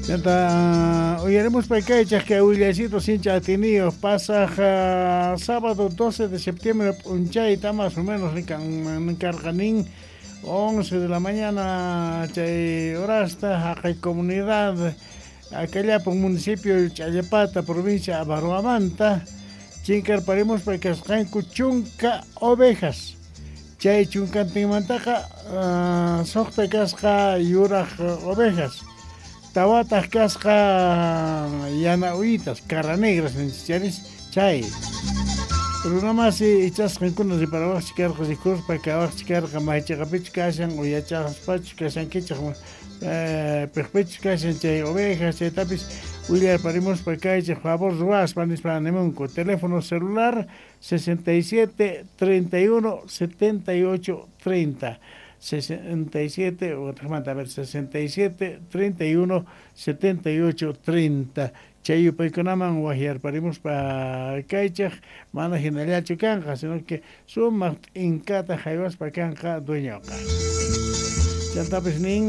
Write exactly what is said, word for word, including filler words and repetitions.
Chanta uyarimuspa kaychaq kay willaycito sincha atiniyuq pasaq uh, sábado doce de septiembre p'unchayta más o menos karqanin once de la mañana chay horasta haqay comunidad Acallapun, municipio Challapata, provincia Abaroamanta, chinkarparimuspa kasqanku chunka ovejas. Chay chunkantinmantaqa uh, suqta kasqa yuraq ovejas, tawataq kasqa yana uyitas, cara negras ninchis chay. Runamasi ichasqankuna riparawaqchik karqa, rikuspa kawaqchik karqa, maychiqapichu kashan uyachaspachu kashankichik, piqpichu kashan chay ovejas, chaytapis willarparimuspa kaychik favor ruwaspa nispa nimunku. Teléfono celular sesenta y siete treinta y uno setenta y ocho treinta, sesenta y siete, otra, a ver, sesenta y siete treinta y uno setenta y ocho treinta. Chay yupaykunaman waqyarparimuspa kaychik, mana hinallachu kanqa, sino que sumaq t'inkata haywaspa kanqa dueñoqa. Chantapis nin